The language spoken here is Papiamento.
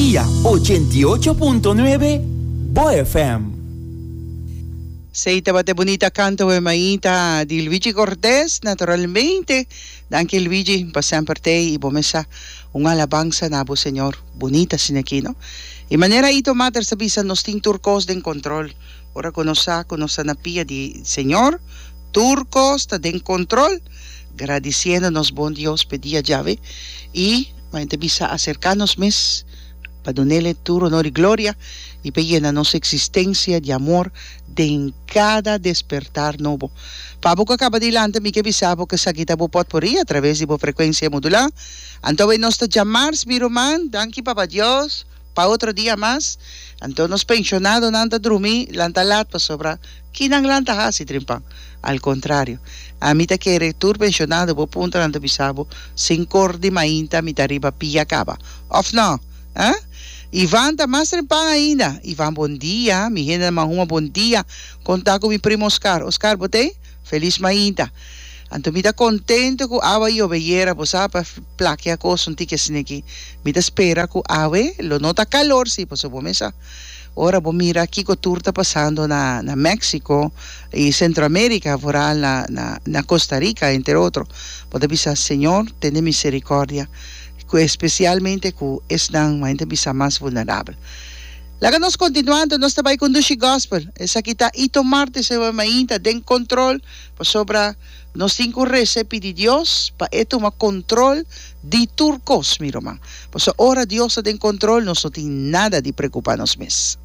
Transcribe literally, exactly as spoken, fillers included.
Energia ochenta i ocho punto nuebe, Bo F M. Esey tabata e bunita canto e mainta di Luigi Cortez, naturalmente. Danki, Luigi, pa semper t'ey y bo mesa un alabansa na bo Señor. Bunita asina aki, no? Y manera Ito Mater sa bisa, nos tin tur cos den control. Ora cu nos sa cu nos ta na pia di Señor, tur cos ta den control. Gradiciendo nos bon Dios p'e dia djawe y ma bisa acerca nos mes pa dunele tur honor y gloria y pa yena nos existencia di amor den cada despertar nobo. Pa bo cu a caba di lanta, mi ke bisa bo cu esaki ta bo potpourri a traves di bo frecuencia modula. Anto awe nos ta djamars, mi ruman, danki Papa Dios pa otro dia mas. Anto nos pensionadonan ta drumi lanta lat pasobra kinan lanta hasi trimpan. Al contrario, ami ta kere tur pensionado bo puntra, nan ta bisa bo sink'or di mainta mi ta riba pia caba. Of no? Ah? Ivan ta mas trempan ainda. Ivan, bon dia. Mi hende Mahuma, bon dia. Conta cu mi primo Oscar. Oscar, bo t'ey? Feliz mainta. Anto mi ta contento cu awa yobe ayera, bo sa, pa plakia cos un tiki asina aki. Mi ta spera cu awe lo no ta calor si, pasobra bo mesa ora bo mira kico tur ta pasando na na Mexico y Centroamerica, vooral na na na Costa Rica, entre otro. Bo ta bisa: Señor, tene misericordia, cu especialmente cu esnan cu ta bisa mas vulnerabel. Laga nos continuando, nos ta bay cu dushi gospel. Esaki ta Ito Martes e mainta den control, pasobra nos tin cu resa pidi Dios pa e tuma control di tur cos, mi ruman. Pasobra ora Dios ta den control, nos no tin nada di preocupa nos mes.